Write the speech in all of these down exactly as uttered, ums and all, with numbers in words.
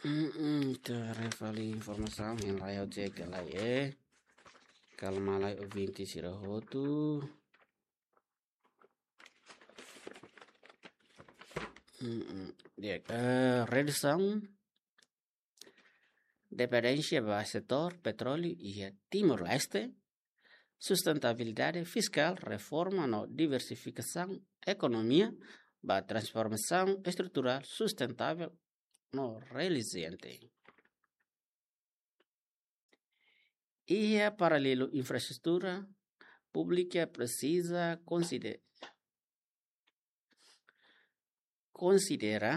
Mm-mm, ita haree fali informasaun, hein lai ha'u cek lai, eh. Kalma lai ouvinte sira hotu. Mm-mm. Di'ak, eh, redusaun dependénsia ba setór petróleu iha Timor-Leste, sustentabilidade fiskál, reforma no diversifikasaun ekonomia ba transformasaun estruturál sustentável no reziliente. Iha paralelu, infraestrutura públika presiza konside-, konsidera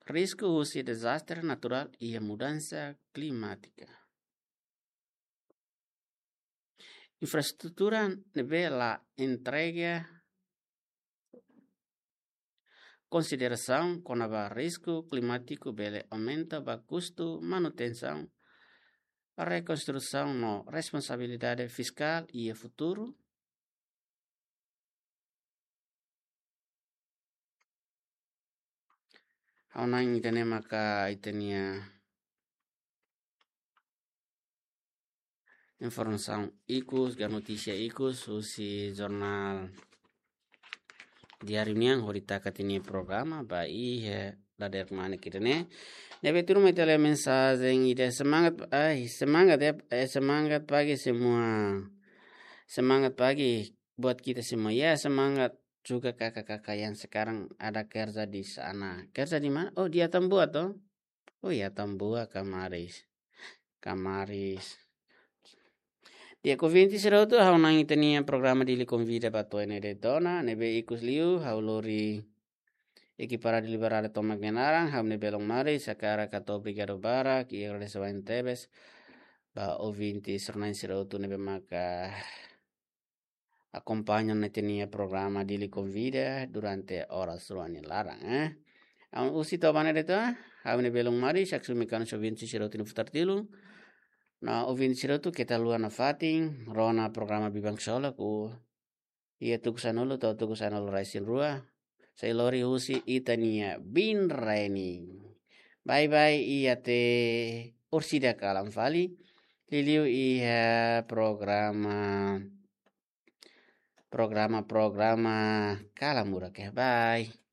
risku husi dezastre naturál iha mudansa klimátika. Infraestrutura ne'ebé la entrega konsiderasaun kona-ba risku klimátiku bele aumenta ba kustu manutensaun, rekonstrusaun no responsabilidade fiskál iha futuru. Ha'u hanoin ida-ne'e maka ita-nia informasaun ikus, ka notísia ikus, husi jornál Diáriu nian, hodi taka tiha nia programa, ba iha dadeer-manik ida-ne'e. Ne'ebé tuirmai ita lee mensajen ida, semangat, ai, semangat ya, eh, semangat pagi semua. Semangat pagi buat kita semua. Ya, semangat juga kakak-kakak yang sekarang ada kerja di sana. Kerja di mana? Oh, di Atambua toh. Oh ya, Atambua, Kamaris. Kamaris. Di'ak, ouvinte sira hotu, ha'u hanoin ita-nia programa Dili Konvida ba to'o iha ne'e de'it ona, ne'ebé ikus liu, ha'u lori ekipa Rádiu Liberal tomak nia naran, ha'u-nia belun Maris, hakarak hato'o obrigadu barak, i agradese barak tebes ba ouvinte sira-na'in sira hotu ne'ebé maka akompaña ita-nia programa Dili Konvida durante oras rua nia laran, eh. Ha'u husi to'o ba iha ne'e de'it ona, ha'u-nia belun Maris, haksolok mekanu ouvinte sira hotu nia futar tilun. No ouvinte sira hotu keta haluha nafatin, rona programa Biban Ksolok, iha tuku sanulu to'o tuku sanulu-resin-rua. Sai lori husi ita-nia biin Reni. Bye bye, i até orsida kalan fali. Liuliu iha programa, programa, programa kalan murak ya. Bye.